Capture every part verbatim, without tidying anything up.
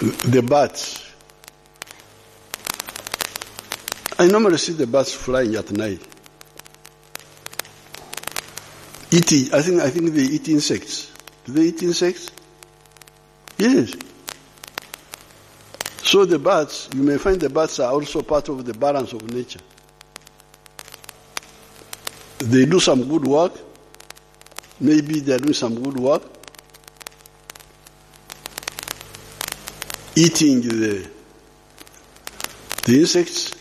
The bats. I normally see the bats flying at night. Eating, I think, I think they eat insects. Do they eat insects? Yes. So the bats, you may find the bats are also part of the balance of nature. They do some good work. Maybe they are doing some good work, eating the, the insects.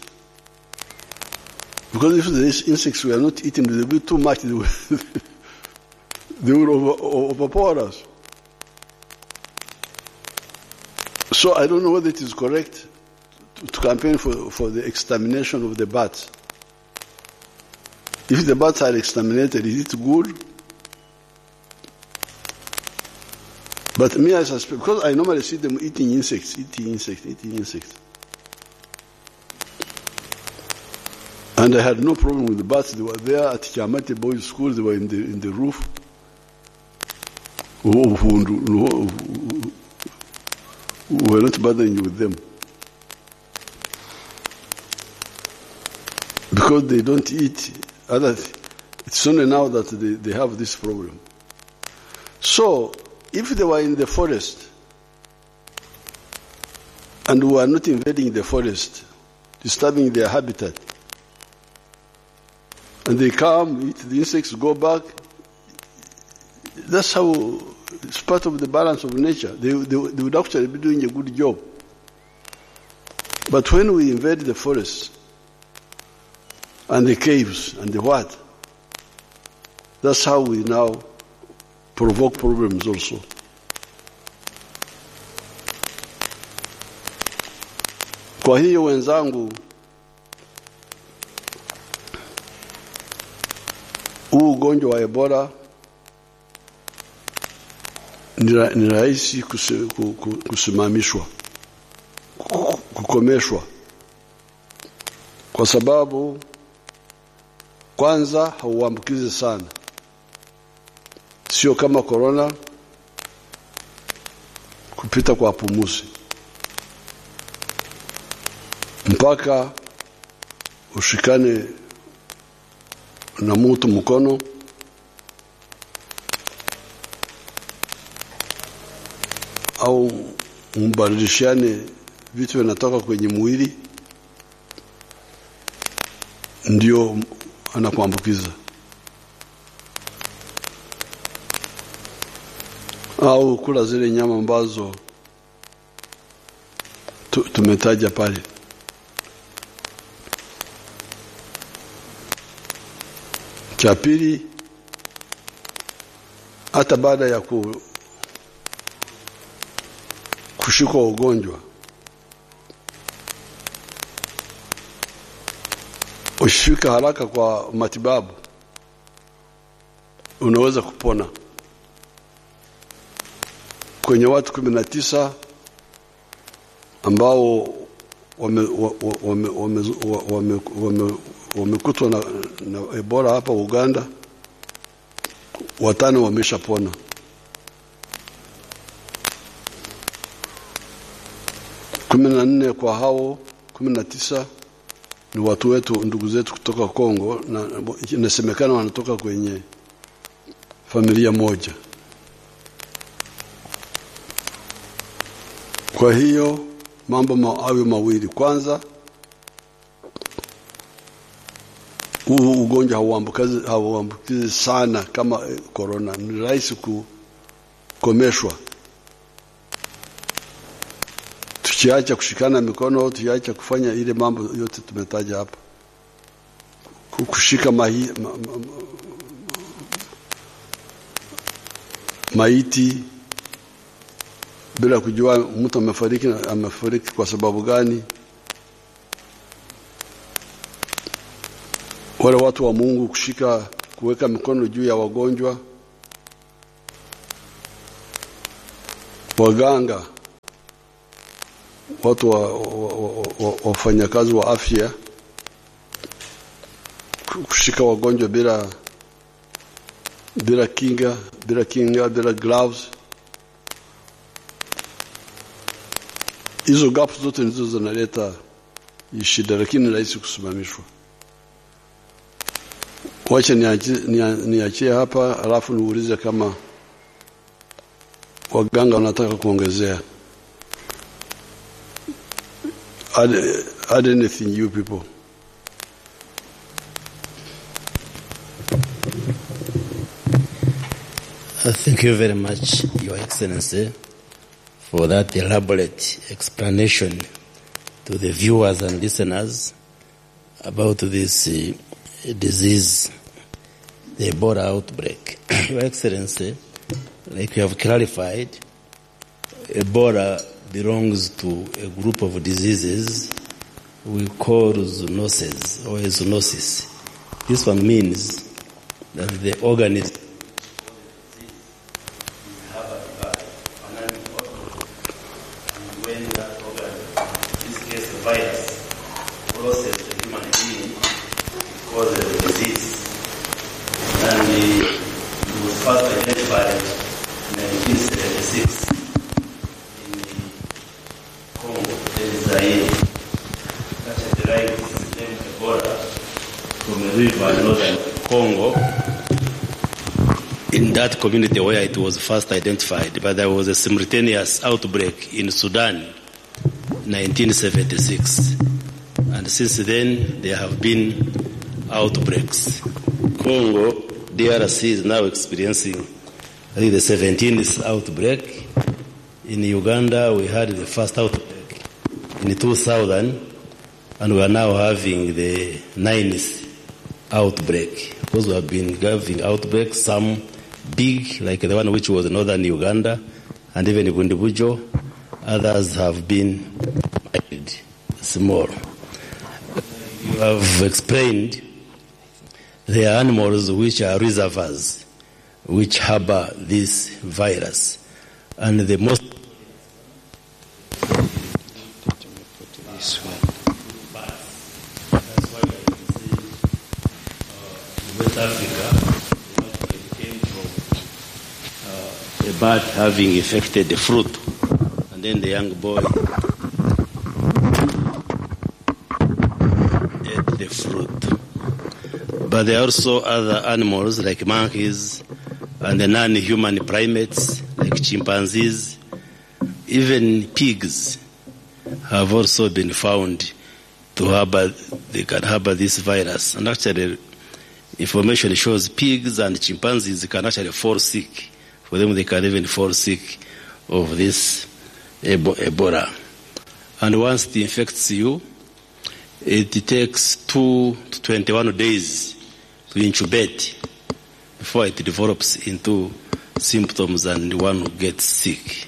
Because if the insects were not eaten, they would be too much, they would, they would over, overpower us. So I don't know whether it is correct to, to campaign for, for the extermination of the bats. If the bats are exterminated, is it good? But me, I suspect, because I normally see them eating insects, eating insects, eating insects. And I had no problem with the bats. They were there at Chamate Boys School. They were in the, in the roof. Who, who, who, who were not bothering with them. Because they don't eat other th-, it's only now that they, they have this problem. So, if they were in the forest and we are not invading the forest, disturbing their habitat, and they come, eat the insects, go back, that's how it's part of the balance of nature. They, they, they would actually be doing a good job. But when we invade the forests and the caves and the what, that's how we now provoke problems also. Kwa hiyo, wenzangu, huu ugonjwa wa Ebola ni ra-, ni rahisi kusi-, ku-, ku-, kusimamishwa, ku-, kukomeshwa, kwa sababu kwanza hauambukizi sana, sio kama korona kupita kwa pumuzi. Mpaka ushikane na mtu mkono, au mbadilishiane vitu vinatoka kwenye mwili, ndio anakuambukiza. Au kula zile nyama ambazo tu-, tumetaja pale. Cha pili, hata baada ya ku-, kushikwa ugonjwa, ushifika haraka kwa matibabu, unaweza kupona. Kwenye watu kumi na tisa ambao wame-, wa-, wa-, wame-, wame-, wa-, wame-, wame-, wamekutwa na, na Ebola hapa Uganda, watano wameshapona. Kumi na nne kwa hao kumi na tisa ni watu wetu, ndugu zetu kutoka Kongo, na inasemekana wanatoka kwenye familia moja. Kwa hiyo, mambo ma-, hayo mawili. Kwanza, huu ugonjwa hauambukizi, hauambukizi sana kama, eh, corona. Ni rahisi kukomeshwa. Tukiacha kushikana mikono, tukiacha kufanya ile mambo yote tumetaja hapa. Ku-, kushika mahi-, ma-, ma-, ma-, maiti bila kujua mtu amefariki, amefariki kwa sababu gani. Wale watu wa Mungu kushika, kuweka mikono juu ya wagonjwa, waganga, watu wa, wa, wa, wa, wa, wafanyakazi wa afya ku-, kushika wagonjwa bila, bila kinga, bila kinga, bila gloves. Hizo gaps zote ndizo zinaleta shida, lakini ni rahisi kusimamishwa. Wacha niachie, nia-, niachie hapa, alafu niulize kama waganga wanataka kuongezea. Add, add anything, you people. Uh, thank you very much, Your Excellency, for that elaborate explanation to the viewers and listeners about this, uh, disease, the Ebola outbreak. Your Excellency, like you have clarified, Ebola belongs to a group of diseases we call zoonoses or a zoonosis. This one means that the organism crosses the disease, and it was first identified in nineteen seventy-six in Congo, that is Zaire. That is derived its name Ebola from a river in northern Congo. In that community where it was first identified, but there was a simultaneous outbreak in Sudan, nineteen seventy-six. And since then, there have been outbreaks. Congo, D R C is now experiencing, I think, the seventeenth outbreak. In Uganda, we had the first outbreak in two thousand, and we are now having the ninth outbreak. Of course, we have been having outbreaks, some big, like the one which was in northern Uganda, and even Bundibugyo. Others have been mild, small. You have explained there are animals which are reservoirs, which harbor this virus. And the most West Africa, came from, uh, a bird having infected the fruit, and then the young boy ate the fruit. But there are also other animals like monkeys and the non-human primates like chimpanzees. Even pigs have also been found to harbor, they can harbor this virus. And actually, information shows pigs and chimpanzees can actually fall sick. For them, they can even fall sick of this Ebo-, Ebola. And once it infects you, it takes two to twenty-one days to incubate before it develops into symptoms and one gets sick.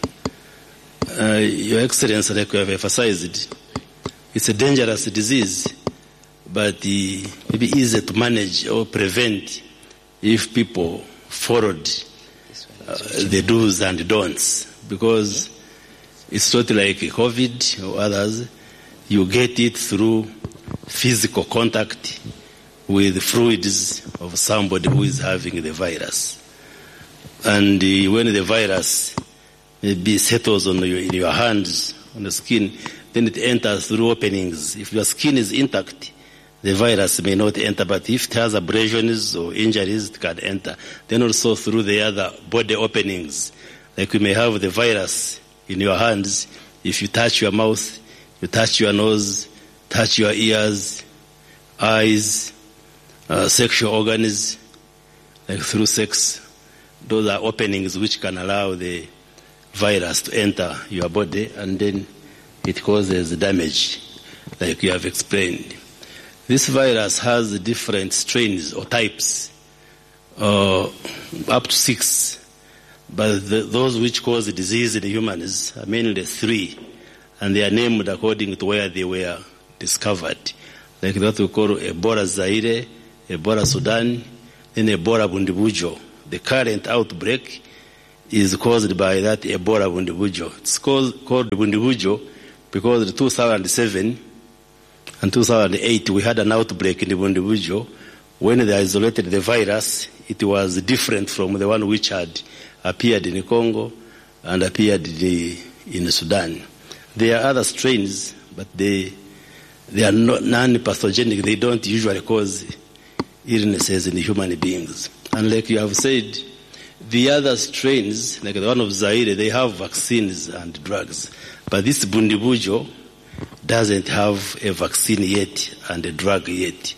Uh, Your Excellency, like we have emphasized, it's a dangerous disease, but, uh, maybe easy to manage or prevent if people followed, uh, the do's and don'ts, because it's not like COVID or others. You get it through physical contact with fluids of somebody who is having the virus. And, uh, when the virus maybe settles on your, in your hands, on the skin, then it enters through openings. If your skin is intact, the virus may not enter, but if it has abrasions or injuries, it can enter. Then also through the other body openings, like, you may have the virus in your hands. If you touch your mouth, you touch your nose, touch your ears, eyes, uh, sexual organs, like through sex, those are openings which can allow the virus to enter your body, and then it causes damage, like you have explained. This virus has different strains or types, uh, up to six, but the, those which cause the disease in humans are mainly three, and they are named according to where they were discovered, like that we call Ebola Zaire, Ebola Sudan, then Ebola Bundibugyo. The current outbreak is caused by that Ebola Bundibugyo. It's called, called Bundibugyo because in two thousand seven and two thousand eight, we had an outbreak in Bundibugyo. When they isolated the virus, it was different from the one which had appeared in Congo and appeared in, in Sudan. There are other strains, but they, they are not non-pathogenic. They don't usually cause illnesses in human beings. And like you have said, the other strains, like the one of Zaire, they have vaccines and drugs. But this Bundibugyo doesn't have a vaccine yet and a drug yet.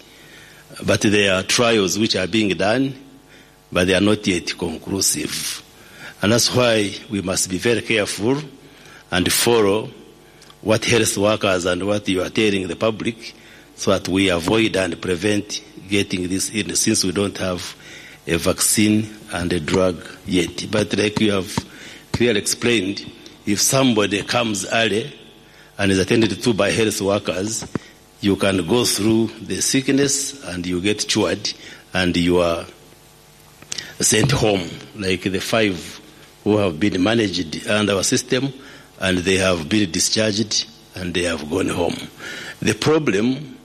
But there are trials which are being done, but they are not yet conclusive. And that's why we must be very careful and follow what health workers and what you are telling the public, so that we avoid and prevent getting this illness, since we don't have a vaccine and a drug yet. But like you have clearly explained, if somebody comes early and is attended to by health workers, you can go through the sickness and you get cured and you are sent home, like the five who have been managed under our system, and they have been discharged and they have gone home. The problem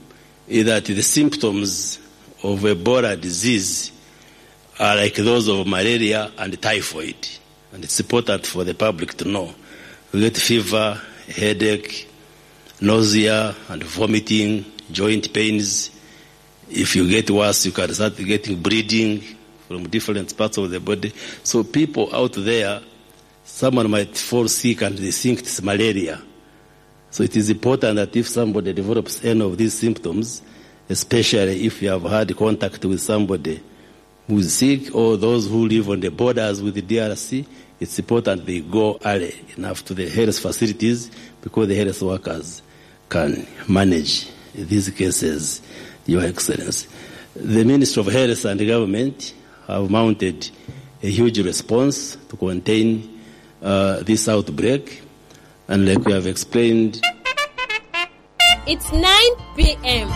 is that the symptoms of Ebola disease are like those of malaria and typhoid, and it's important for the public to know. You get fever, headache, nausea and vomiting, joint pains. If you get worse, you can start getting bleeding from different parts of the body. So people out there, someone might fall sick and they think it's malaria. So it is important that if somebody develops any of these symptoms, especially if you have had contact with somebody who is sick or those who live on the borders with the D R C, it's important they go early enough to the health facilities, because the health workers can manage these cases, Your Excellency. The Ministry of Health and the government have mounted a huge response to contain, uh, this outbreak, and like we have explained, It's nine p m.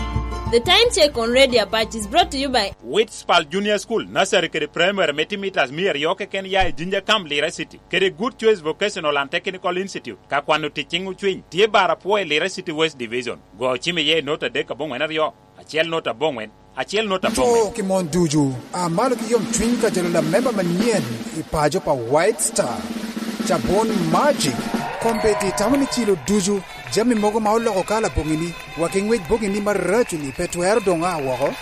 The time check on Radio Apache is brought to you by Witspal Junior School, nursery kede primary me timitas mia aryo keken ya i Jinja Camp, Lira City, kede Good Choice Vocational and Technical Institute. Ka kwano tic ciŋ ocwiny, tye bar apwo i Lira City West Division. Go ocim iye i nota adek aboŋwen aryo, acel nota aboŋwen, acel nota aboŋwen. To ki mon ducu, a malo ki yomcwiny ka jalo lamemba manyen i paco pa White Star. Cabun Magic, kombeddi tamo ni cilo ducu, jami mogo ma oloko kala boŋini, wa ki ŋwec boŋini maraco-ni pe twero doŋ a woko.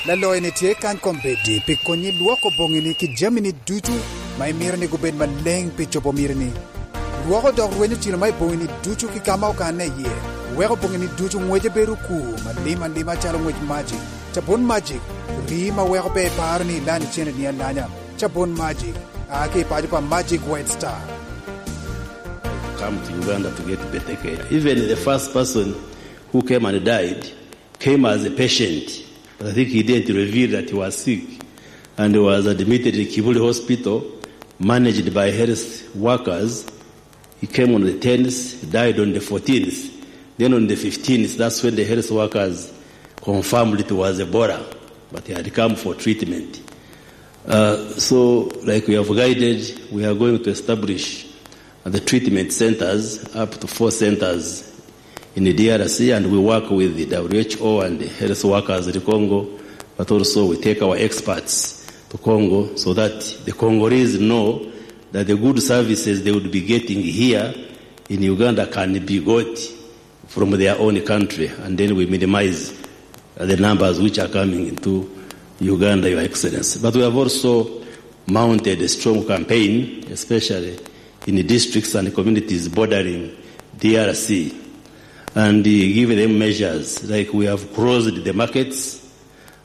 Laloyo-ni tye kany kombeddi pi konyi lwoko boŋini ki jamini ducu ma imito ni gubed maleŋ pi cobo mitini. Lwoko dok rwenyo cilo ma i boŋini ducu ki ka ma okanne iye, weko boŋini ducu ŋwece bedo okur malim alima calo ŋwec Magic. Cabun Magic, rii ma weko pe iparo ni ilany ceneni alanya. Cabun Magic, a ki i paco pa Magic White Star. Come to Uganda to get better care. Even the first person who came and died came as a patient, but I think he didn't reveal that he was sick and was admitted in Kibuli Hospital, managed by health workers. He came on the tenth, died on the fourteenth. Then on the fifteenth, that's when the health workers confirmed it was Ebola, but he had come for treatment. Uh, so, like we have guided, we are going to establish the treatment centers, up to four centers in the D R C, and we work with the W H O and the health workers in Congo, but also we take our experts to Congo so that the Congolese know that the good services they would be getting here in Uganda can be got from their own country, and then we minimize, uh, the numbers which are coming into Uganda, Your Excellency. But we have also mounted a strong campaign, especially in the districts and communities bordering D R C, and, uh, give them measures, like we have closed the markets,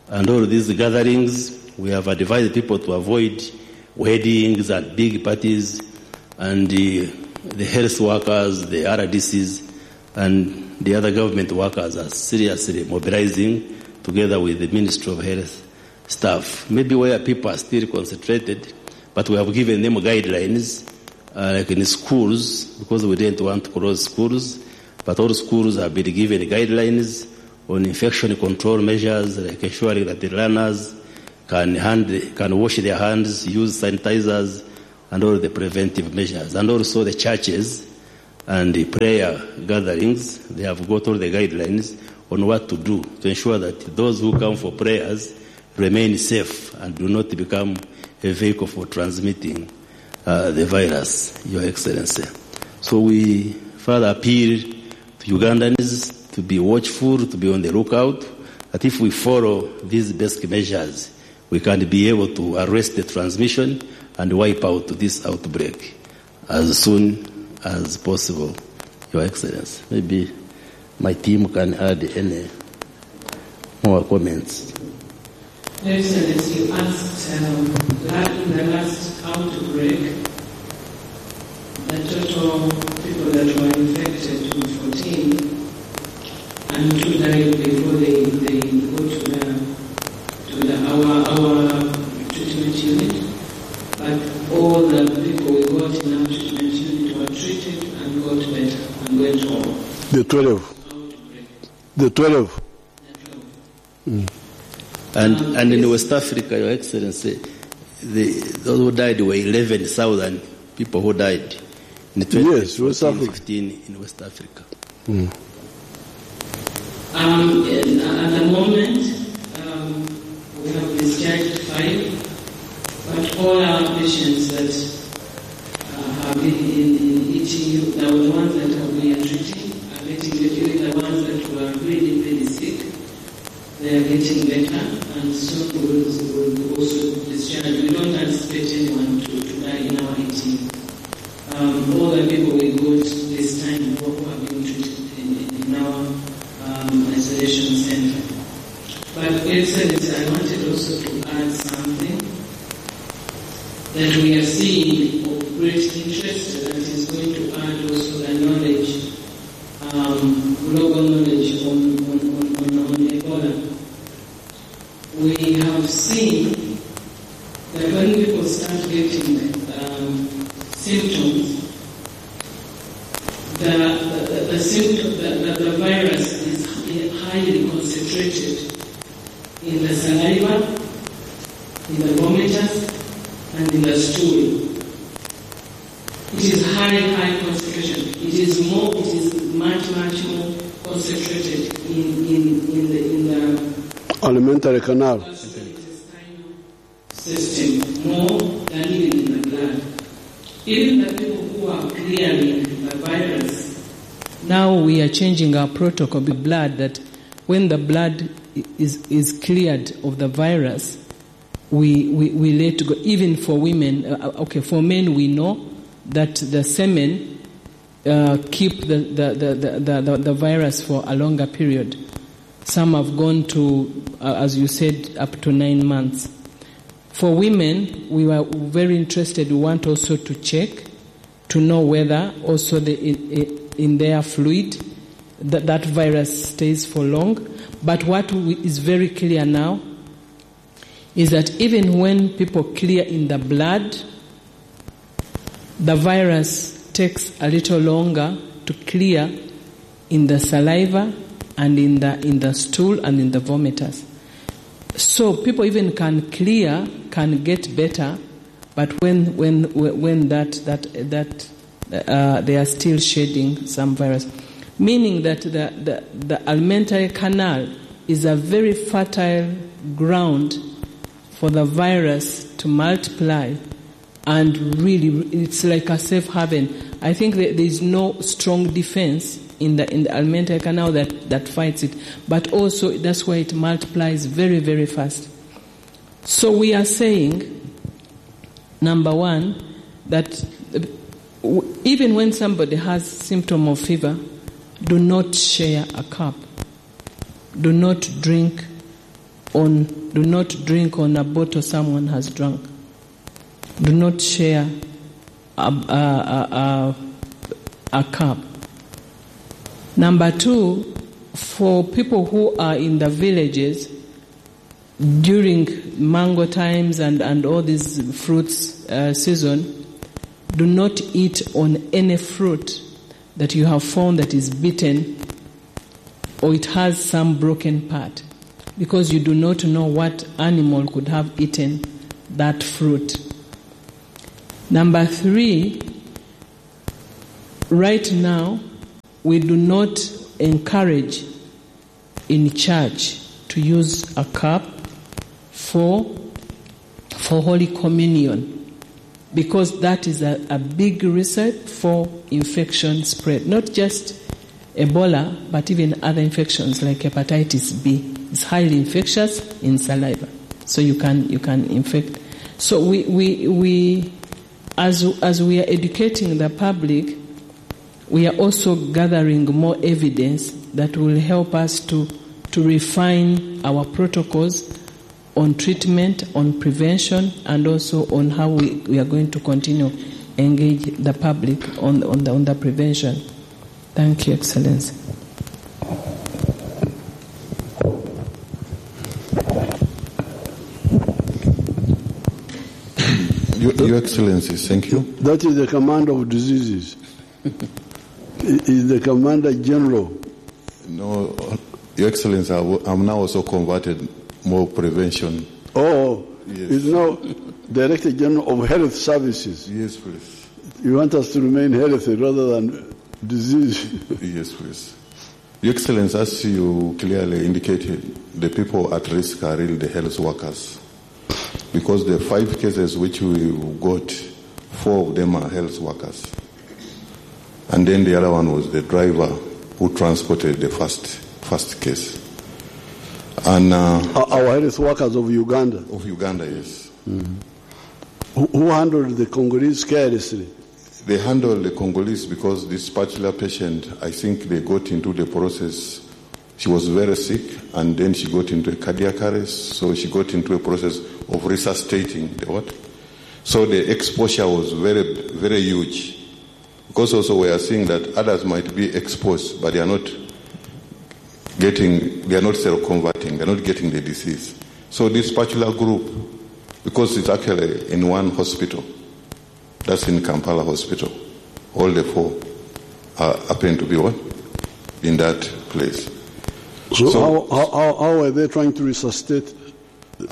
and all these gatherings, we have advised people to avoid weddings and big parties, and the, the health workers, the R D Cs, and the other government workers are seriously mobilizing together with the Ministry of Health staff. Maybe where people are still concentrated, but we have given them guidelines, uh, like in schools, because we didn't want to close schools, but all schools have been given guidelines on infection control measures, like ensuring that the learners can hand, can wash their hands, use sanitizers, and all the preventive measures. And also the churches and the prayer gatherings, they have got all the guidelines on what to do to ensure that those who come for prayers remain safe and do not become a vehicle for transmitting, uh, the virus, Your Excellency. So we further appeal to Ugandans to be watchful, to be on the lookout, that if we follow these basic measures, we can be able to arrest the transmission and wipe out this outbreak as soon as possible, Your Excellency. Maybe my team can add any more comments. Excellency, you asked, um, la-, in the last outbreak, the total people that were infected were fourteen, and two died before they, they go to the, to the, our, our treatment unit. But all the people we got in our treatment unit were treated and got better and went home. The twelve. Outbreak. The twelve. And, and in West Africa, Your Excellency, the, those who died were eleven thousand people who died in Yes, West twenty fourteen, Africa. fifteen in West Africa. Um, and at the moment, um, we have discharged five, but all our patients that, uh, have been in, in E T U, the ones that we are treating, are getting, even the ones that were really, really sick, they are getting better, and soon we will, we will also discharge. We don't anticipate anyone to, to die in our E T U. Um, all the people we got this time who have been treated in, in, in our, um, isolation center. But Excellency, I wanted also to add something that we are seeing of great interest that is going to add also the knowledge, um, global knowledge on, on, on, on, on Ebola. We have seen that when people start getting, um, symptoms, the, the, the symptom, the, the, the virus is highly concentrated in the saliva, in the vomitus, and in the stool. It is high, high concentration. It is more, it is much, much more concentrated in, in, in the, in the alimentary canal. Gastrointestinal system more than even in the blood. Even the people who are clearing the virus, now we are changing our protocol, the blood, that when the blood i-, is, is cleared of the virus, we, we, we let go. Even for women, uh, uh, okay, for men, we know that the semen, uh, keep the, the, the, the, the, the virus for a longer period. Some have gone to, uh, as you said, up to nine months. For women, we were very interested. We want also to check to know whether also the, in, in their fluid that, that virus stays for long. But what we, is very clear now is that even when people clear in the blood, the virus takes a little longer to clear in the saliva and in the, in the stool and in the vomitus. So people even can clear, can get better, but when, when, when that, that, that, uh, they are still shedding some virus. Meaning that the, the, the alimentary canal is a very fertile ground for the virus to multiply, and really, it's like a safe haven. I think that there is no strong defense in the, in the alimentary canal that, that fights it, but also that's why it multiplies very, very fast. So we are saying, number one, that, uh, w-, even when somebody has symptom of fever, do not share a cup. Do not drink on, do not drink on a bottle someone has drunk. Do not share a, a, a, a, a cup. Number two, for people who are in the villages, during mango times and, and all these fruits, uh, season, do not eat on any fruit that you have found that is bitten or it has some broken part, because you do not know what animal could have eaten that fruit. Number three, right now, we do not encourage in church to use a cup for, for Holy Communion. because that is a, a big recipe for infection spread. Not just Ebola, but even other infections like hepatitis B. It's highly infectious in saliva, so you can, you can infect. So we, we, we as, as we are educating the public, we are also gathering more evidence that will help us to, to refine our protocols on treatment, on prevention, and also on how we, we are going to continue engage the public on, on the, on the prevention. Thank you, Excellency. Your, Your Excellency, thank you. That is the command of diseases. He is the Commander General. No, Your Excellency, I w- I'm now also converted more prevention. Oh, yes. He's now Director General of Health Services. Yes, please. You want us to remain healthy rather than disease. Yes, please. Your Excellency, as you clearly indicated, the people at risk are really the health workers. Because the five cases which we got, four of them are health workers. And then the other one was the driver who transported the first, first case. And uh, our health workers of Uganda. Of Uganda, yes. Mm. Who, who handled the Congolese carelessly? They handled the Congolese because this particular patient, I think they got into the process. She was very sick, and then she got into a cardiac arrest, so she got into a process of resuscitating the what? So the exposure was very, very huge. Because also we are seeing that others might be exposed, but they are not getting, they are not seroconverting, they are not getting the disease. So this particular group, because it's actually in one hospital, that's in Kampala Hospital, all the four are, happen to be what? In that place. So, so how, how, how, how are they trying to resuscitate?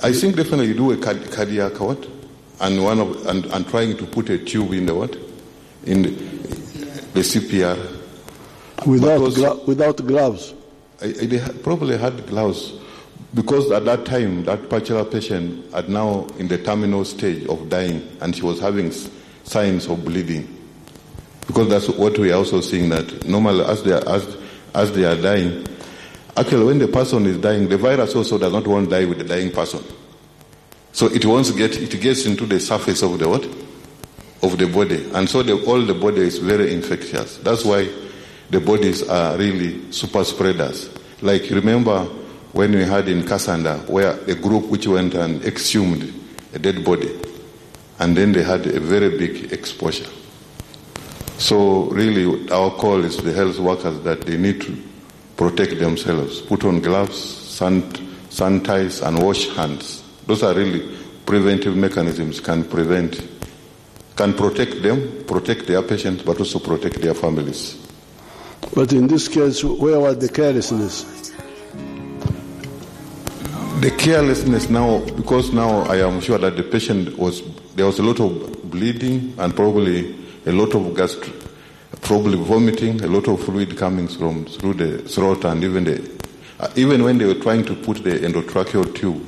I think definitely you do a card- cardiac what? And one of and, and trying to put a tube in the what? In the, the C P R. Without, because gla- without gloves? I, I, they ha- probably had gloves. Because at that time, that particular patient had now in the terminal stage of dying, and she was having s- signs of bleeding. Because that's what we are also seeing, that normally as they are, as, as they are dying, actually when the person is dying, the virus also does not want to die with the dying person. So it wants to get, it gets into the surface of the what? Of the body. And so the, all the body is very infectious. That's why the bodies are really super spreaders. Like, remember when we had in Kassanda, where a group which went and exhumed a dead body, and then they had a very big exposure. So really, our call is to the health workers that they need to protect themselves, put on gloves, san- sanitize, and wash hands. Those are really preventive mechanisms, can prevent, can protect them, protect their patients, but also protect their families. But in this case, where was the carelessness? The carelessness now, because now I am sure that the patient was, there was a lot of bleeding and probably a lot of gastr- probably vomiting, a lot of fluid coming from through the throat, and even the uh, even when they were trying to put the endotracheal tube,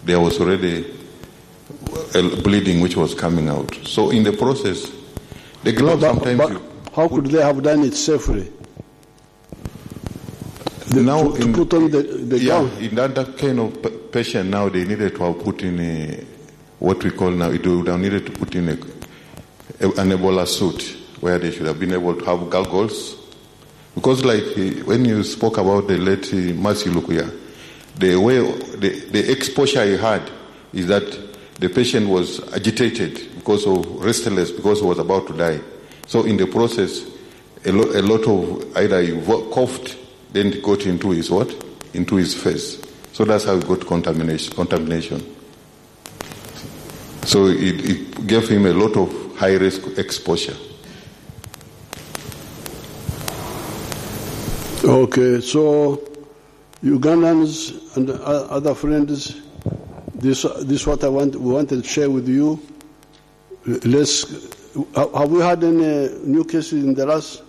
there was already a bleeding which was coming out. So in the process, the gloves But, sometimes but you how could they have done it safely? The- Now to, to in- put on the, the yeah, gown. In that, that kind of p- patient now, they needed to have put in a, what we call now, it would have needed to put in a, a, an Ebola suit where they should have been able to have goggles. Because like eh, when you spoke about the late eh, Mercy Lukuya, the way the, the exposure he had is that the patient was agitated because of restless, because he was about to die. So in the process, a, lo- a lot of either he vo- coughed, then it got into his what? Into his face. So that's how he got contamination. Contamination. So it, it gave him a lot of high risk exposure. Okay, so Ugandans and o- other friends, this this what I want we wanted to share with you. Let's ha- have we had any new cases in the last?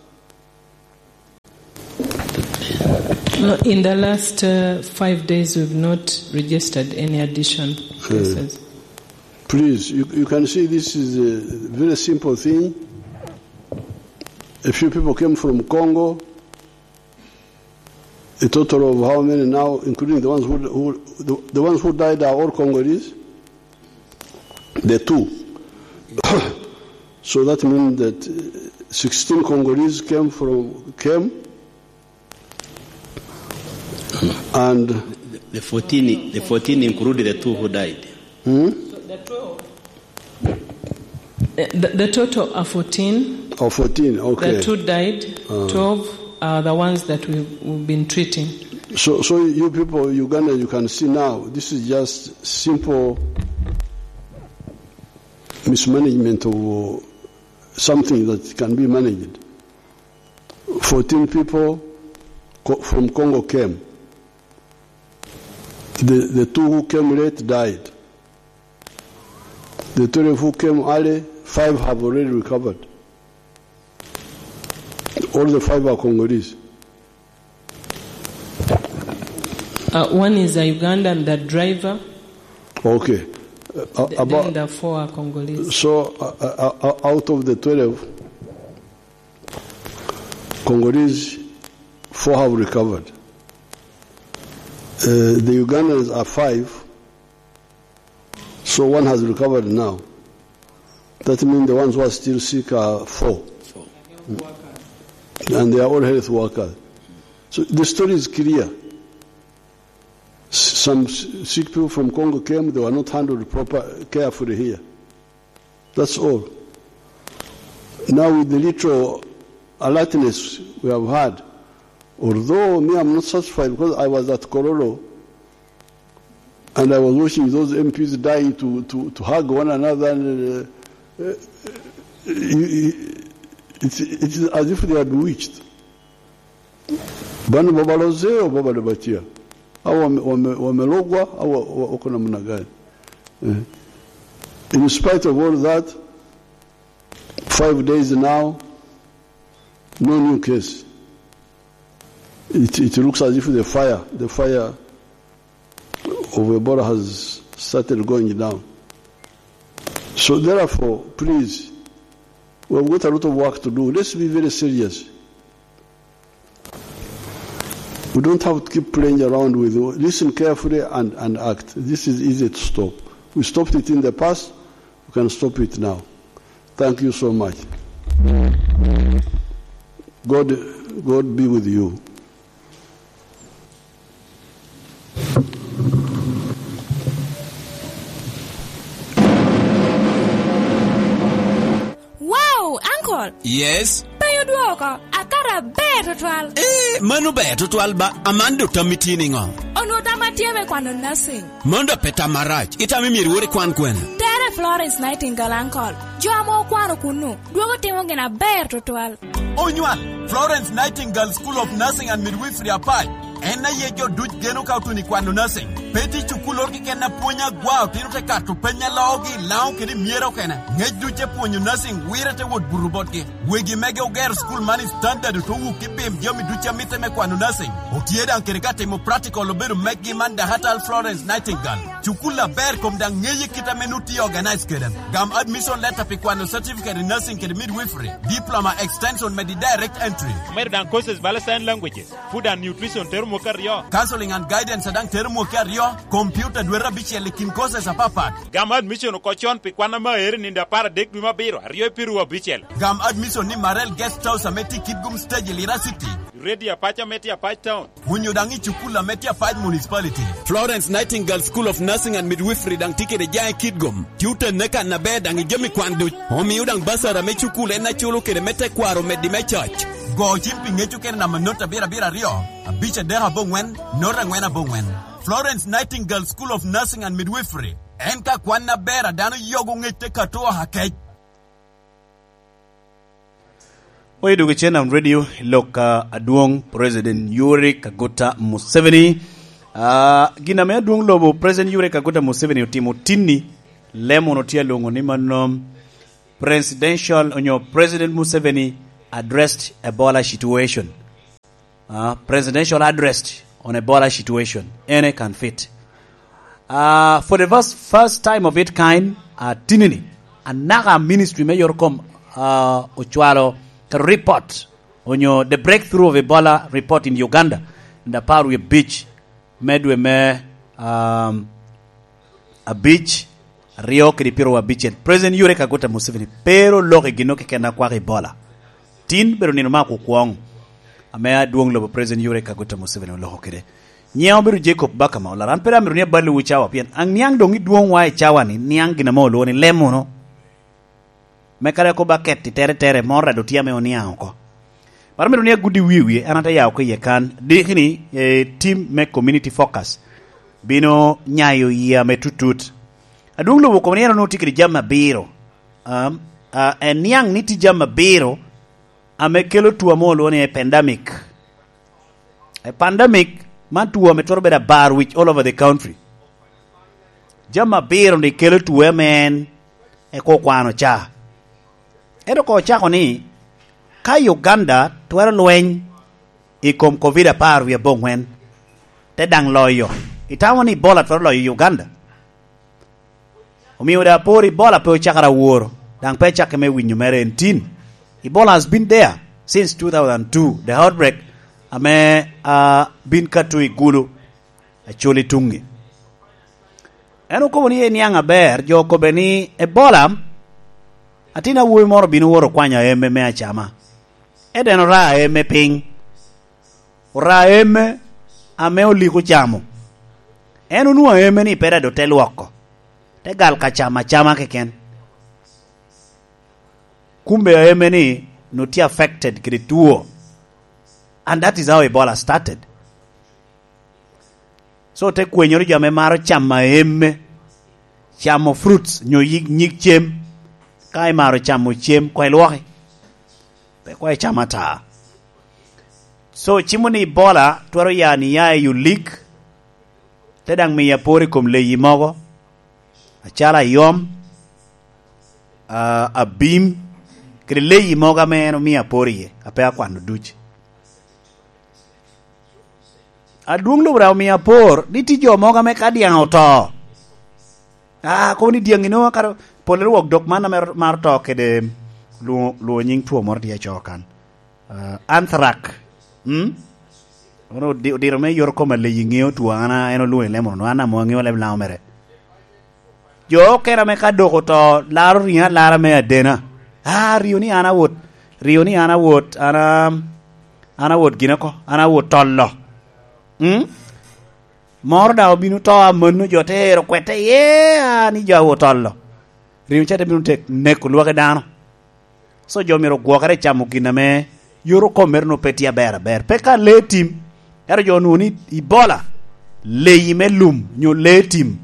No, in the last uh, five days, we've not registered any addition cases. Please, you, you can see this is a very simple thing. A few people came from Congo. A total of how many now, including the ones who, who the, the ones who died are all Congolese? The two. So that means that uh, sixteen Congolese came from, came, and The fourteen, the fourteen include the two who died. Hmm? The, the total are fourteen. Oh, fourteen, okay. The two died, Ah. twelve are the ones that we, we've been treating. So, so you people, Uganda, you can see now, this is just simple mismanagement of uh, something that can be managed. Fourteen people co- from Congo came. The, the two who came late died. The twelve who came early, five have already recovered. All the five are Congolese. Uh, one is a Ugandan, the driver. Okay. Uh, Th- about, then the four are Congolese. So, uh, uh, uh, out of the twelve, Congolese, four have recovered. Uh, the Ugandans are five, so one has recovered now. That means the ones who are still sick are four. And they are all health workers. So the story is clear. S- Some s- sick people from Congo came, they were not handled proper, carefully here. That's all. Now, with the little alertness we have had, although me, I'm not satisfied because I was at Kololo and I was watching those M Ps dying to, to, to hug one another. And, uh, uh, you- you- it's, it's as if they are bewitched. Bano babaloze o baba de batia. Awa wame- wame- wamelogwa, awa wa- wako namna gani? Eh. In spite of all that, five days now, no new case. It, it looks as if the fire, the fire of Ebola has started going down. So therefore, please, we've got a lot of work to do. Let's be very serious. We don't have to keep playing around with it. Listen carefully and, and act. This is easy to stop. We stopped it in the past. We can stop it now. Thank you so much. God, God be with you. Wow, uncle! Yes? Pe odwoko, akato aber tutwal. Eh, mano ber tutwal ba, aman do tammi tye niŋo? Onwo tamma tye me kwano nursing. Mano da pe tam marac, itamo myero iwor ikwan kwene? Tere Florence Nightingale, uncle. Jo ame okwano kunnu, dwogo timo gin aber tutwal. Onywal, Florence Nightingale School of Nursing and Midwifery Apac. En aye jo duc geno ka otuno i kwano nursing. Pe tye cukulloro keken a pwony agwa, otino te kato peny a loogi i Laŋo kede i Myera okene. Ngec duc te pwonyo nursing wire te wot buto botgi. Wegi mege ogero cukul man i standard ote wuk i pim jami duc a mitte me kwano nursing. Otye daŋ kede ka timo practical obedo megi man Dakatal Florence Nightingale. Cukul aber kom daŋ ŋeye kit ame nu tye organize kede. Gam admission letter pi kwano certificate in nursing kede midwifery, diploma extension medi direct entry. Omedo daŋ courses bala sign languages, food and nutrition tero mwaka aryo. Counseling and guidance daŋ tero mwaka aryo, computer dwete abicel i kin courses apapat. Gam admission oko con pi kwan ame aero i nino apar adek dwe me abiro, aryo i piru abicel. Gam admission ni Marel Guest House ame tye i Kitgum Stage i Lira City. Radio Apac ame tye Apac Town. Onyo daŋ i cukul ame tye Apac Municipality. Florence Nightingale School of Nursing and Midwifery daŋ tye kede jaŋ i Kitgum. Tye otenne kan aber daŋ i jami kwan duc. Omio daŋ basara me cukul en aculo kede me tekwaro omeddi me coc. Go cim pi ŋec okene namba not abiro abiro aryo, abic adek aboŋwen, not angwen aboŋwen. Florence Nightingale School of Nursing and Midwifery. En ka kwan aber a dano yogo ŋec te kato oha kec. Oye dwogo Channel Radio, lok ka adwoŋ President Yoweri Kaguta Museveni. Ah, gin ame adwoŋ lobo President Yoweri Kaguta Museveni otimo tinni, Lemon otye alwoŋo ni mano presidential onyo President Museveni addressed Ebola situation. Uh, presidential address on Ebola situation. Ene can fit. Uh, for the first, first time of its kind, Atinini, anaka ministry me yot kom, ah, ocwalo ka report, onyo the breakthrough of Ebola report in Uganda, in the power we beach, me dwe me, um, abic, aryo kede pyero abicel. President Yoweri Kaguta Museveni pe ru loko i gin keken a kwako Ebola. Tin bedo nino me akukwoŋ ame adwoŋ lobo President Yoweri Kaguta Museveni oloko kede. Nyiŋa obedo Jacob Bakama, olara, an pe ru amito ni aballiwu cawa, pien aniaŋ doŋ idwoŋwa i cawa-ni, niaŋ gin ame olwoŋo ni lem wunu. Me kare kop aket i tere tere, moro ado tye ame oniaŋ oko. Mar mito ni agudi wie wie, an ate ya oko iye kan, dikini, eh, tim me community focus bino nyayo yia me tutut. Adwoŋ lobo okobo ni en onwoŋo tye kede jami abiro. Um, ah, eniaŋ ni tye jami abiro ame kelo two ame olwoŋo ni epandemic. Epandemic man two ame twero bedo abar wic all over the country. Jami abiro ni kelo two ame en eko okwano ca. Ento ko ocako ni, ka Uganda twero lweny i kom covid apar wie aboŋwen, te daŋ loyo, itamo ni Ebola twero loyo Uganda? Omio daŋ apor Ebola pe ocakere aworo, daŋ pe acakke me winyo mere en tin. Ebola has been there since two thousand two, the outbreak ame, ah, bin ka to i Gulu, Acholi tuŋi. En okobo ni eniaŋ aber, jo okobbe ni, "Ebola, atin awobi moro bino woro kwanyo aemme me acama." Ento en ora aemme piny. Ora aemme ame oliko camo. En onwoŋo aemme ni pe daŋ doŋ te lwoko. Te gal ka camo acama keken. Kumbe aemme ni onwoŋo tye affected kede two. And that is how Ebola started. So te kwenyoro jo ame maro camo aemme, camo fruits, nyo yig, nyig cem. Ka imaro camo cem, koŋ ilwoki. Pe koŋ icam ata. So, cimo ni Ebola twero ya ni ya i olik, te daŋ miyo apor i kom leyi mogo, acalo ayom, ah, abim, kede leyi mogo ame en omio apor iye, a pe akwano duc. Adwoŋ lobo daŋ omio apor ni tye jo mogo ame ka dyaŋ oto, ah, kobo ni dyaŋ ino, kara pol rwok dok man ame maro to kede lwo-, lwo nyiŋ two moro tye acoo kan. Ah, anthrax. Mm? Ono odi-, odiro me yot koma leyi ŋeo two, an a-, en olwoŋo i lemo no, an amo aŋeo leb Laŋo mere. Jo okene ame ka dok oto, laro riŋo alara me adena. Ah, rio ni an awot, rio ni an awot, an a-, an awot gin oko, an awot tolo. Mm? Moro daŋ obino to amanno, jo te ero kwete iye, ah, ni jo awot tolo. Riŋo ca te bino tek neko lwaki dano. So jo myero ogwokere i camo gin ame yot okomere onwoŋo pe tye aber aber. Pe ka lee tim, ento jo onwoŋo ni Ebola, leyi me lum, nyo lee tim,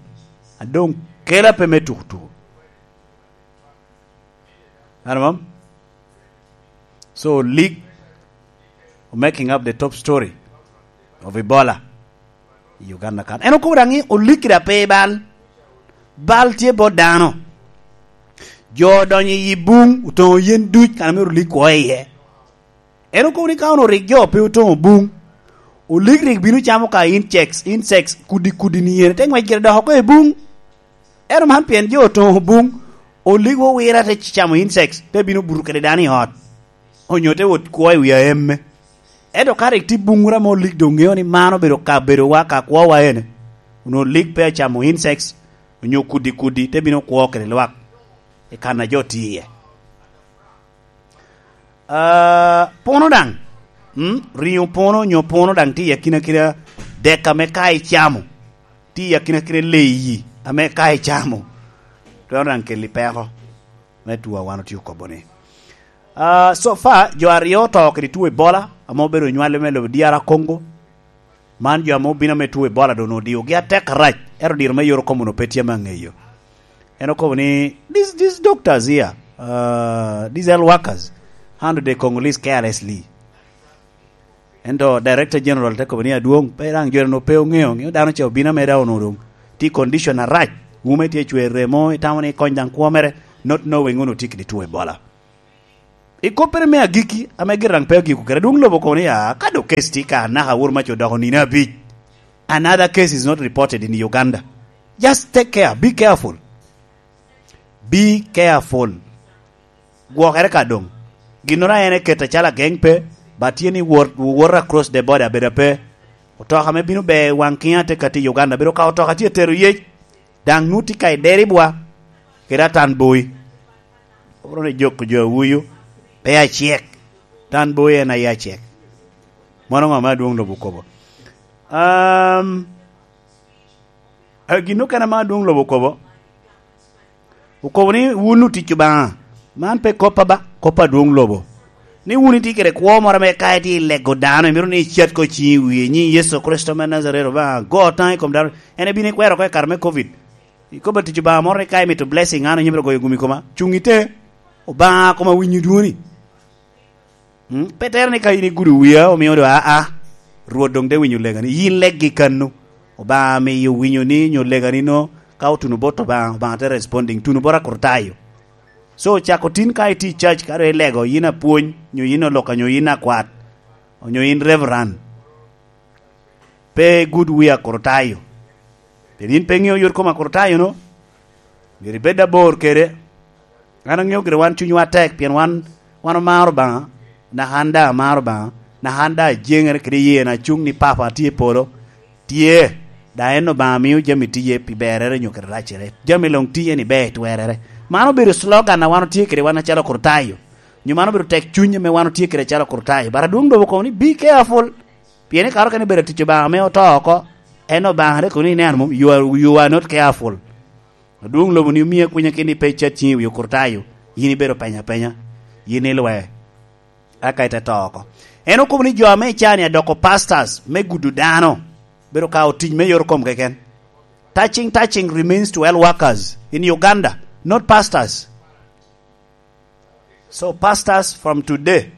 a doŋ kela pe me tukutuku. Ano mam? So, leak, making up the top story of Ebola i Uganda kan. En okobo daŋ ni olik kede ape bal. Bal tye bot dano. Jo odonyo i buŋ, otoŋo yen duc, kan myero olik kwo iye. En okobo ni ka onwoŋo rik jo pe otoŋo buŋ, olik rik bino camo ka insects, insects, kudi kudi ni yen, te ŋwec gire dok oko i buŋ. Ento man pien jo otoŋo buŋ, olik owira te camo insects, te bino buto kede dano i ot, onyo te wot kwo i wi aemme. Ento ka rik tye buŋ wura ma olik doŋ ŋeo ni man obedo kabedowa, ka kwowa ene, onwoŋo olik pe acamo insects, onyo kudi kudi, te bino kwo kede lwak i kan a jo tye iye. Ah, puno daŋ. Mm, riŋo puno nyo puno daŋ tye i akina kina dek ame ka icamo. Tye i akina kina leyi ame ka icamo, twero daŋ keli peko me two a wan otye okobo ni. Ah, so far, jo aryo oto kede two Ebola, ame obedo onywale me lobo D R Congo. Man jo ame obino ame two Ebola doŋ odiogi atek arac, ento diro me yot okomo onwoŋo pe tye ame aŋeyo. En okobo ni, "These, these doctors here, uh, these health workers, handle the Congolese carelessly." Ento Director General te kobo ni, "Adwoŋ, pe daŋ jo-nu pe oŋeo, ŋeo dano ca obino ame daŋ onwoŋo doŋ tye i condition arac, wume tye cwer remo, itamo ni ikony daŋ kwo mere, not knowing onwoŋo tye kede two Ebola." I koppere me agikki, ame gire daŋ pe agiko kede, adwoŋ lobo okobo ni, "Ah, ka doŋ case tye ka anaka awor mac odoko nino abic, another case is not reported in Uganda. Just take care, be careful." Be careful. Gwokere ka doŋ. Ginnoro a en eketo acalo ageŋ pe, ba tye ni wot, wot across the border, bedo pe. Otoka ame bino ber waŋ kiŋ ate ka tye i Uganda, bedo ka otoka tye tero yec, daŋ nu tye ka idero i bwa, kede atan boi. Obro ni jok jo awuyu, pe acek. Tan boi en aye acek. Mano ŋo ame adwoŋ lobo okobo? Um, a, gin okene ame adwoŋ lobo okobo, okobo ni, "Wun otic Obaŋa." Man pe kop aba, kop adwoŋ lobo. Ni wun itye kede kwo moro ame ka itye i lego dano, imito ni icat ko ciŋi i wie, nyiŋ Yecu Kricito me Najaret, Obaŋa, go taŋ i kom dano. En ebino ikwero oko i kare me covid. Ikobo atic Obaŋa moro ni ka imito blessing, an onyimere goyo gumi koma. Cuŋ ite, Obaŋa koma winyo dwoni. Mm, pe tere ni ka in igudo wia, omio do, aa, Rwot doŋ te winyo legani. Yin leggi kannu. Obaŋa miyo winyo ni nyo legani no, ka otuno bot Obaŋa, Obaŋa te responding. Tuno bot Akritayo. So, cako tin ka itye i church, ka doŋ ilego, yin apwony, nyo yin oloka, nyo yin akwat, onyo yin reverend. Pe gud wia Akritayo. Pien yin pe iŋeo yot kom Akritayo no. Myero ibed abor kede. An aŋeo gire wan cunywa tek, pien wan, wan omaro Obaŋa, naka an daŋ amaro Obaŋa, naka an daŋ ajeŋere kede yena acuŋ ni Papa tye i polo, tye, daŋ en Obaŋa mio jami tiye pi berere nyo kede racere. Jami luŋ tiye ni ber i twerere. Man obedo slogan a wan otye kede wan acalo Akritayo. Nyo man obedo tek cuny ame wan otye kede acalo Akritayo. But adwoŋ lobo kono ni, "Be careful." Pien i kare okene bedo atic Obaŋa ame oto oko, en Obaŋa te kono ni, "Nen, mom, you are, you are not careful." Adwoŋ lobo ni omia kwinya keni pe icat ciŋi i wi Okritayo, yin ibedo penya penya, yin ilwe, aka ite to oko. En okobo ni jo ame icani adoko pastors me gudo dano, bedo ka otic me yor kom keken. Touching, touching remains to health workers in Uganda, not pastors. So pastors, from today,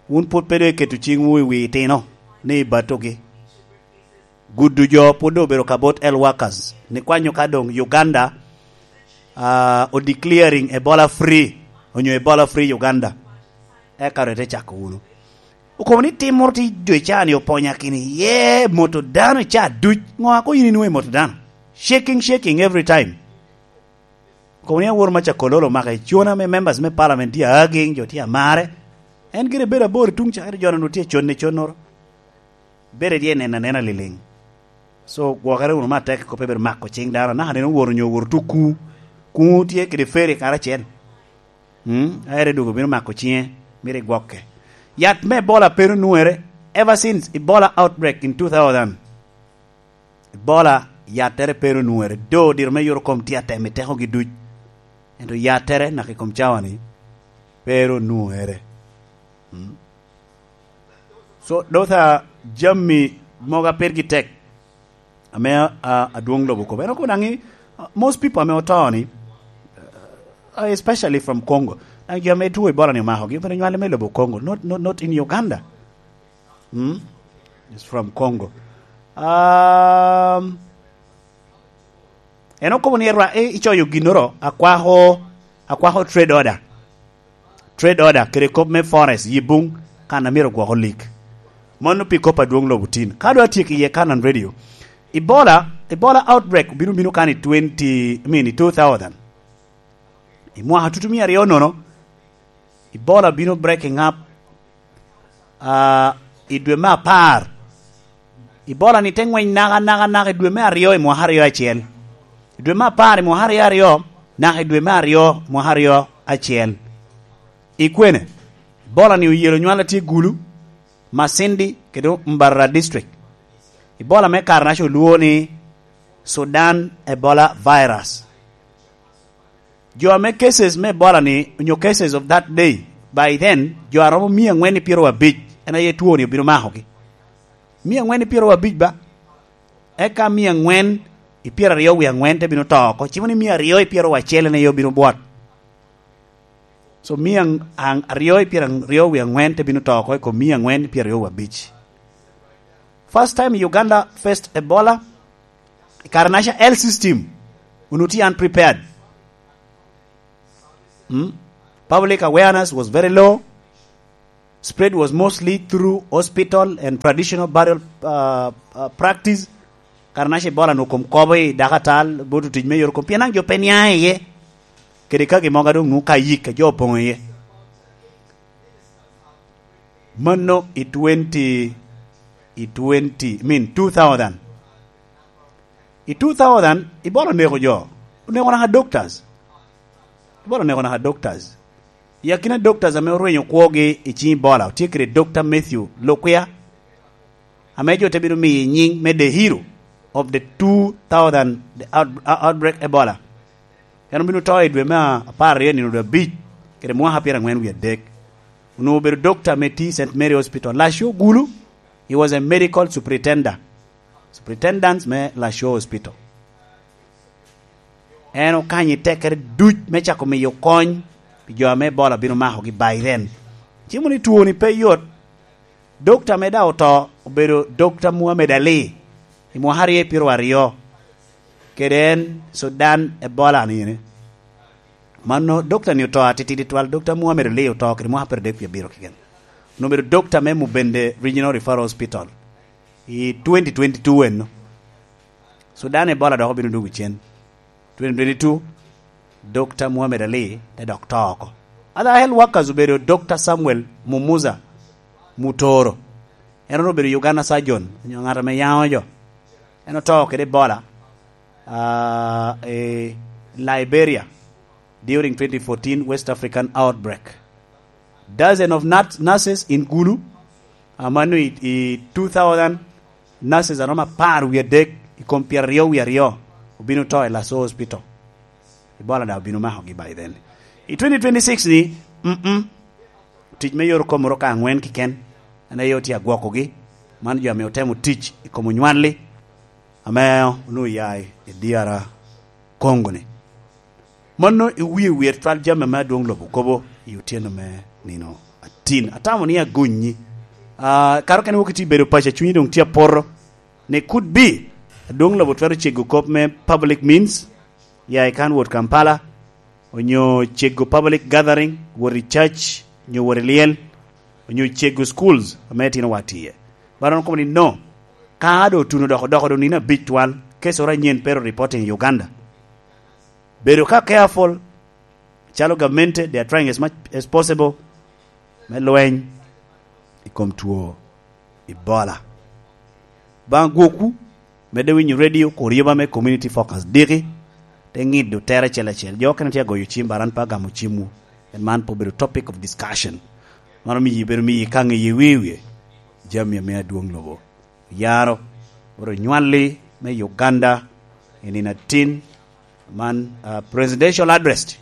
wun pwod pe doŋ iketo ciŋwu i wi itino ni ibatogi. Gudo jo pwod doŋ obedo ka bot health workers. Ni kwanyo ka doŋ Uganda, ah, o declaring Ebola free, onyo Ebola free Uganda. Eka doŋ ite cako wunu. Okobo ni tim moro tye i dwe ca ni oponya kini, ye moto dano i ca duc. Ŋo a koŋ yin inwoŋo i moto dano? Shaking, shaking every time. Kono ni awor maca kololo maka i con ame members me parliament tye aging, jo tye amare. En gire bedo abor i tuŋ ca, ento jo-nu tye conne connoro. Bedo tye neno anena liliŋ. So, gwokere wunu matek, kop pe bedo mako ciŋ dano. Naka neno woro nyo woro tuku. Kuŋu tye kede feri karacel. Mm, a ere dwogo bino mako ciŋe, myero igwokke. Yat me Ebola pe ru nwere, ever since Ebola outbreak in two thousand. Ebola, yattere pe ru nwere. Do diro me yot kom tye atemo i tekogi duc. Ento yattere naka i kom cawa-ni, pe ru nwere. Mm. So, those are jami mogo a pirgi tek, ame, a, adwoŋ lobo okobo. En okobo daŋ ni, uh, most people ame oto ni, uh, especially from Congo. Daŋ jo ame two Ebola ni omakogi, obino nywale me lobo Congo, not, not, not in Uganda. Mm? It's from Congo. Um, en okobo ni erwa-, i-, icoyo ginnoro, akwako, akwako trade order. Trade order, kede kop me forest, yi buŋ, kan a myero gwok olik. Mano pi kop adwoŋ lobo tin. Ka doŋ atyeko iye, Kanan Radio. Ebola, Ebola outbreak obino, bino kan i twenty, I mean, i two thousand. I mwaka tutu mia aryo nono, Ebola bino breaking up, ah, i dwe me apar. Ebola ni te ŋweny naka, naka, naka i dwe me aryo i mwaka aryo acel. I dwe me apar i mwaka aryo aryo, naka i dwe me aryo mwaka aryo acel. I kwene, Ebola ni oyelo nywal a tye Gulu, Masindi, kede Mbarara District. Ebola me kare-naca olwongo ni Sudan Ebola virus. Jo ame cases me Ebola ni, onyo cases of that day, by then, jo a romo mia aŋwen i pyeraryo abic, en aye two ni obino makogi. Mia aŋwen i pyeraryo abic ba? Eka mia aŋwen i pyeraryo wie aŋwen te bino to oko. Cimo ni mia aryo i pyeraryo acel en aye obino bwot. So mia ang-, ang-, aryo i pyeraryo wie aŋwen te bino to oko i kom mia aŋwen i pyeraryo wie abic. First time Uganda faced Ebola, i kare-naca health system onwoŋo tye unprepared. Hmm? Public awareness was very low. Spread was mostly through hospital and traditional burial, uh, uh, practice. Kare-naca Ebola onwoŋo kom kobo i dakatal, bot otic me yot kom. Pien daŋ jo pe niaŋ iye. kede ka gin mogo a doŋ nwoŋo ka yik a jo opoŋo iye. Mano i twenty, i twenty, I mean, two thousand. I two thousand, Ebola oneko jo. Oneko naka doctors. Ebola oneko naka doctors. I akina doctors ame orwenyo kwogi i ciŋ Ebola, otye kede Doctor Matthew Lukwia, ame jo te bino miyo nyiŋ me the hero of the two thousand, the out-, outbreak Ebola. En obino to i dwe me apar aryo nino dwe abic, kede mwaka pyerangwen wie adek. Onwoŋo obedo doctor me ti Saint Mary Hospital, Laco Gulu. He was a medical superintendent, superintendent me Laco Hospital. En okanyo i tekkere duc me cako miyo kony pi jo ame Ebola bino makogi by then. Cimo ni twoni pe yot. Dokta ame daŋ oto obedo Dokta Muhammad Ali i mwaka aryo i pyeraryo. Kede en Sudan Ebola ni ene. Mano dokta ni oto atitidi twal, Dokta Muhammad Ali oto kede mwaka apar adek wie abiro keken. Onwoŋo obedo dokta me Mubende Regional Referral Hospital i twenty twenty-two eno. Sudan Ebola dok obino dwogo cen. Twenty twenty-two, Dokta Muhammad Ali te dok to oko. Other health workers obedo Dokta Samuel Mumuza Mutoro. En onwoŋo obedo Uganda surgeon, onyo ŋat ame yaŋo jo. En oto kede Ebola, ah, i Liberia during twenty fourteen West African outbreak. Dozen of nut-, nurses in Gulu, ah, mano i, i two thousand nurses aromo apar wie adek i kom pyeraryo wie aryo obino to i Laso Hospital. Ebola daŋ obino makogi by then. I twenty twenty-six ni, mm-mm, tic me yore okomoro ka aŋwen keken, en aye otye agwokogi. Man jo ame otemo tic i kom onywalli, ame onwoŋo oya i D R Congo ni. Mano i wie wer twal jami ame adwoŋ lobo kobo i otyeno me nino atin. Atamo ni agonnyi. Ah, karo kene wok itye bedo paco, cunyi doŋ tye apoto. Ni could be, adwoŋ lobo twero cego kop me public means, ya i kan wot Kampala, onyo cego public gathering, wot i church, onyo wot i lyel, onyo cego schools ame itino wa tiye. Baron komo ni no, ka do otuno dok odoko do nino abic twal, case oro anyen pero reporting i Uganda. Bedo ka careful, calo gamente, they are trying as much as possible me lweny i kom two Ebola. Baŋ gwokwu, medde winyo radio, kur yoba me community focus diki, te ŋido tere acel acel. Jo okene tye agoyo cim, baran pe agamo cimwu. En man pe obedo topic of discussion. Mano miyo bedo miyo ikaŋ i wie wie jami ame adwoŋ lobo yaro, oro nywalli me Uganda i nino atin. Man, uh, presidential address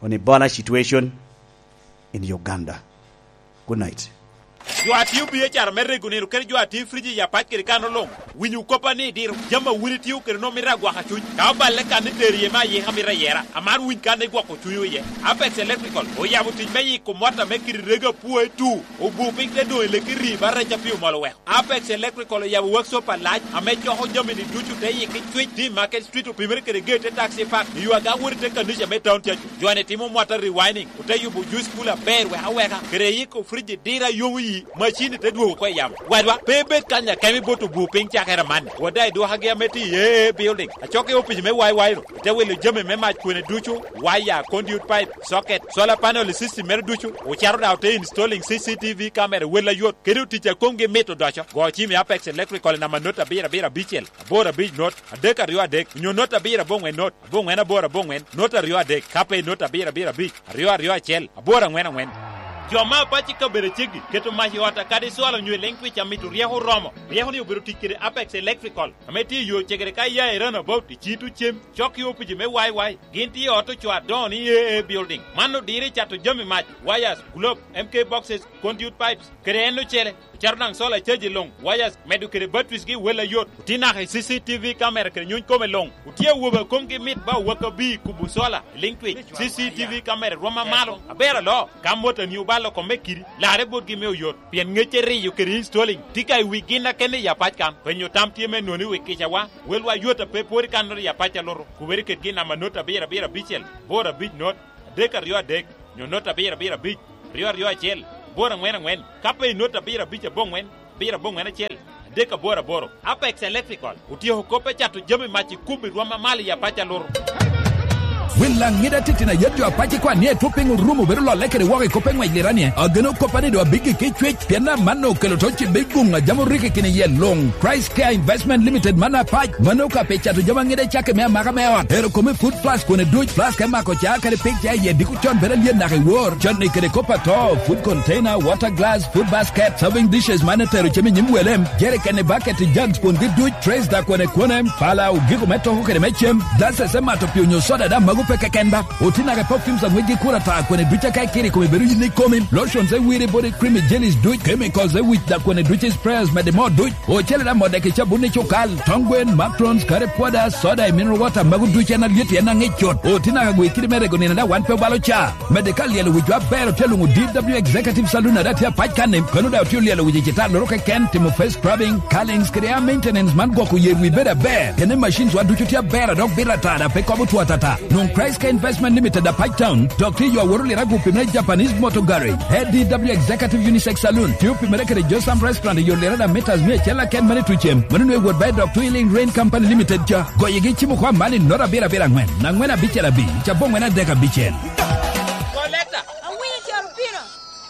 on Ebola situation in Uganda. Good night. Jo a tio biacara me rego nino kede jo a tio friji i apac kede kano luŋ, winyo koppa ni diro jami a wun itio kede nwoŋo mito agwaka cuny. Ka oballe kan ni tero iye me ayika mito ayera, amar winy kan igwoko cunywu iye. Apex Electrical oyabo tic me yiko mwata me kidi rego apwoe tu, obu piny te doŋ i leki ri ba rec a pi omol oweko. Apex Electrical oyabo workshop alac ame coko jami-ni ducu te yiki cwic, tye i Market Street, opimere kede gate te taxi park, i yo aga wot i te kanica me Town Church. Jo-ni timo mwata rewinding, ote yubo juice cooler aber wek aweka, kede yiko fridge diro a yomo yi, macin-ni te dwogo oko i yamo. Wadwa, pe ibed kany akemo ibot obwo piny cakere amanni. Wada i dwokagi ame tye i A A Building, acok i opic me Y Y-nu, ote wilo jami me mac kwene ducu, waya, conduit pipe, socket, solar panel i system mere ducu, ocito daŋ ote installing C C T V camera i wel ayot, kede otic a komgi mit odoco. Go cim i Apex Electrical i namba not abiro abiro abicel, aboro abic not, adek aryo adek, onyo not abiro aboŋwen not, aboŋwen aboro aboŋwen, not aryo adek, ka pe not abiro abiro abic, aryo aryo acel, aboro aŋwen aŋwen. Jo me apac i kabedo aceggi keto mac i ot akadi cwalo onyo i leŋ twic a mito ryeko oromo. Ryeko-ni obedo tic kede Apex Electrical, ame tye i yo cegere ka iya i Roundabout i Cito Cem, cok i opici me Y Y. Gin tye i ot ocoo adoŋo ni A A Building. Man odiro i cato jami mac, wires, globe, M K boxes, conduit pipes, kede en ocele. Ocito daŋ solar charge luŋ, wires, medo kede batteries gi wel ayot. Otye naka i C C T V camera kede nyuny kome luŋ. Otye awobe a komgi mit ba owakabi kubo solar, liŋ twic. C C T V camera rwom amalo, aber aloo. Ka motani obalo kome kidi, larre botgi me oyot. Pien ŋec eriyo kede installing tye ka i wi gin akene i apac kan. Penyo tam tye me noni wi kicawa. Welwa yot a pe pwod i kan not i apac a luto. Kubere kit gin namba not abiro abiro abicel, bor abic not, adek aryo adek, nyo not abiro abiro abic, aryo aryo acel, bor aŋwen aŋwen. Ka pe i not abiro abic aboŋwen, abiro aboŋwen acel, adek aboro aboro. Apex Electrical otyeko kop me cato jami mac i kubo i rwom amalo i apac a luto. Wil Laŋida titino ayet jo apac i kwan ni etwo piny orumo bedo lolle kede woko i kop eŋwec liranie. Ageno kop a ni doŋ abiggi ki cwec, pien amanno okelo to ci biguŋ a jam oriko i kin yel luŋ. Christ Care Investment Limited man apac, mano ka pe cato jami aŋida i cakke me amaka me ot. Ero kome food plus kwone duc, plus ka imako ca kadi pig ca i yie diko con bedo alyet naka i wor. Con ni kede kop ato, food container, water glass, food basket, serving dishes man etero cem i nyim welem, jerikeni, baketi, jugs kwongi duc, trays da kwone kwone, pala, ogiko me toko kede me cem, glasses me mato pii onyo soda da mago pe keken ba. Oti naka i perfumes aŋwec gi kura ta kwene duc aka ikiri kome bedo yin ikomi, lotions e wiri body cream i jellies duc, chemicals e wic da kwene duc i sprayers mede mo duc, ocele da mode ki cabun i cukal, tong gwen, macrons, kare pwoda, soda i mineral water mago duc en alyet en aŋic cut. Oti naka gwe kidi me rego nino da wan pe obalo ca. Mede ka lyelo wic aber otye luŋo D W Executive Saloon ada tye apac kan-ni, kono da otye lyelo wic i cita loro keken, timo face scrubbing, curlings kede hair maintenance man gwoko yer wi bedo aber. Kene machines wa ducu tye aber a dok bito ata da pe kobo two atata. Luŋ Price Care Investment Limited apac town, dok tye yo aworo lira gupi me Japanese Motor Garage. A D W Executive Unisex Saloon, tye opimere kede Josam Restaurant i yo lira da meters mia acel aken mane tucem. Mano nwe wot ba i dok Twilling Rain Company Limited ca. Goyegi cimo kwa mani not abiro abiro angwen, angwen abicel abi, cabo angwen adek abicel. Kolekta, awinyo caro pino.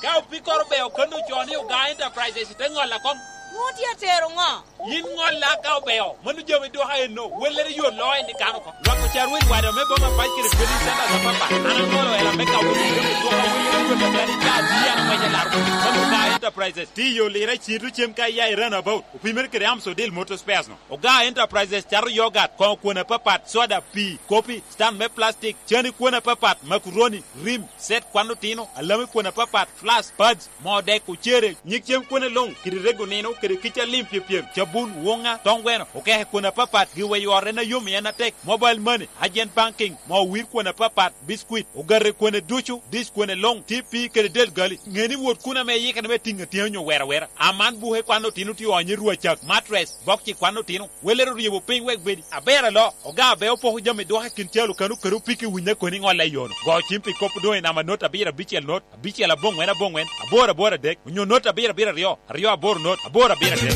Ka opikoro beo kano co ni Oga Enterprises te ŋolla kom. Nwoŋo tye atero ŋo? Yin ŋolla ka obeo, mano jami dwoka enno, wellere yo loo en i kano kom. Lwak ocar winy wada me boma pac kede trading centers apapa. An aŋolo ela me ka winy jami dwoka wellere yo loo en i ka di an aŋwece laro. Mano Oga Enterprises, tiyo lira cito cem ka iya i runabout. Opimere kede Amsodil Motor Spares no. Oga Enterprises cato yogat, koŋo kwon apapat, soda, pii, kopi, stand me plastic, cani kwon apapat, macaroni, rim, set kwan otino, alami kwon apapat, flask, pads, moo dek, ocere, nyig cem kwone luŋ, kede rego nino, kede kica lim pyepyem, cabun, woŋa, toŋ gweno, okeke kwon apapat, giweyo ot en ayom i en atek, mobile money, agent banking, moo wir kwon apapat, biscuit, ogate kwone ducu, dish kwone luŋ, T P kede del gali. Ŋe ni wot kun ame iyikere me tiŋ atyeni onyo wera wera. Aman buke kwan otino tye onyo i rwacak, mattress, bokci kwan otino. Welere oryebo piny wek bedi. Aber alo, Oga Abeo poko jami dwoka i kin calo kano kede opiki winya koni ŋolla i yono. Go cim pi kop doŋ i namba not abiro abicel not, abicel aboŋwen aboŋwen, aboro aboro adek, onyo not abiro abiro aryo, aryo aboro not, aboro abiro adek.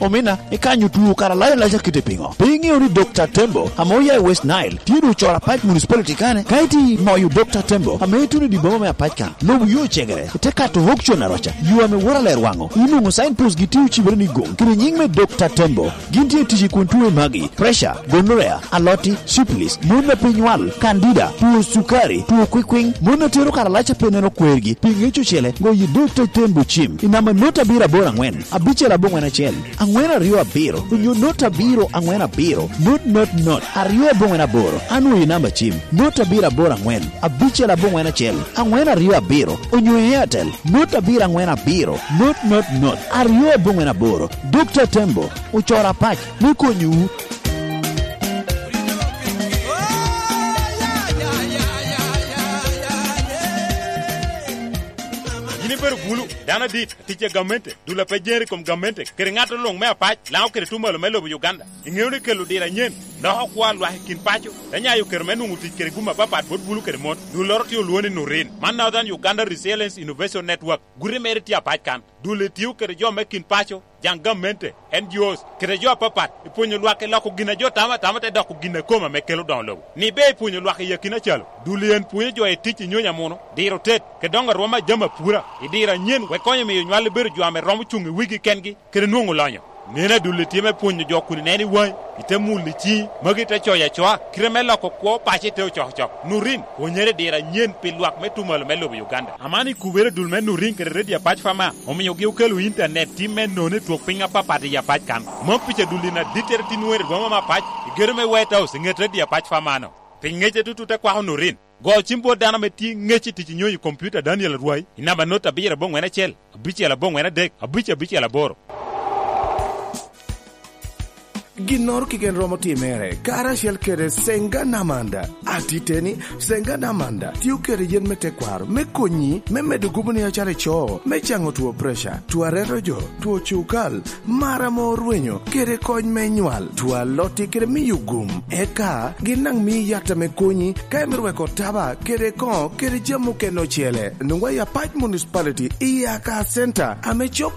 Omina, ikanyo tuo kara layo laca kite piŋo? Pe iŋeo ni Dokta Tembo, ame oya i West Nile, tye doŋ ocoro apac municipality kane? Ka iti moyo Dokta Tembo, ame ituno i dye boma me apac kan, lobo yo ocegere, ite kato Hokchon aroca, yo ame woro aler waŋo, inwoŋo signpost gi tye ocibere ni goŋ, kede nyiŋ me Dokta Tembo. Gin tye tic i kun tuo i magi, pressure, gonorrhea, aloti, syphilis, mon a pe nywal, candida, tuo cukari, tuo kwikwiŋ, mon a tero karalac a pe neno kwergi, pi ŋec ocele, goyo Dokta Tembo cim i namba not abiro aboro aŋwen, abicel aboŋwen acel, aŋwen aryo abiro, onyo not abiro aŋwen abiro, not not not, aryo aboŋwen aboro, anwoyo i namba cim, not abiro aboro aŋwen, abicel aboŋwen acel, aŋwen aryo abiro, onyo i Airtel, not abiro aŋwen abiro, not not not, aryo aboŋwen aboro. Dokta Tembo, ocoro apac me konyowu. Yin ibedo bulu, dano adit, atic a gamente, dul a pe jere i kom gamente, kede ŋat luŋ me apac, Laŋo kede tuŋ malo me lobo Uganda. Iŋeo ni kelo diro anyen loko kwo a lwak i kin paco, te nyayo kero me nwoŋo tic kede gum apapat bot bulu kede mon. Dulloro tye olwoŋo ni Nurin. Man Northern Uganda Resilience Innovation Network. Guti mere tye apac kan. Dul-li tio kede jo me kin paco, jaŋ gamente, N G Os, kede jo apapat, i pwonyo lwak i loko gin a jo tamo atama te doko gin a kome ame kelo doŋo lobo. Ni ber i pwonyo lwak i akina calo, dul-li en pwonyo jo i tic i nyonyo amuno, diro tet, kede doŋo arwoma a jami apura, i diro anyen wek konyo miyo nywal-li bedo jo ame romo cuŋ i wigi kengi, kede nwoŋo lonyo. Neno adul-li tye me pwonyo jo kun ineno i waŋi, ite mulo i ciŋi, magi ite coyo acoa, kite me loko kwo paco ite ocokocok. Nurin, pwonyere i diro anyen pi lwak me tuŋ malo me lobo Uganda. Aman i kubere dul me Nurin kede Radio Apac Fama, omiogi okelo intanet tim me nono i twok piny apapat i Apac kan. Mom pica dul-li na dittere tin wero i boma me Apac, i gedo me White House, i ŋet Radio Apac Fama-no. Pi ŋecce tutut te kwako Nurin. Go cim bot dano ame tye ŋec i tic i nyonyo i kompiuta Daniel Arwai i namba not abiro aboŋwen acel, abicel aboŋwen adek, abic abicel aboro. Ginnoro keken romo timere karacel kede Senga Namanda. Atiteni, Senga Namanda tio kede yen me tekwaro me konyi me medo gupu ni acalo ico, me caŋo two preca, two areto jo, two cukal, mar ame orwenyo, kede kony me nywal, two alotti kede miyo gum. Eka gin daŋ mii yat ame konyi ka imito weko taba kede koŋo kede jami mukene ocele. Nwoŋwa i Apac Municipality i Aka Center ame cok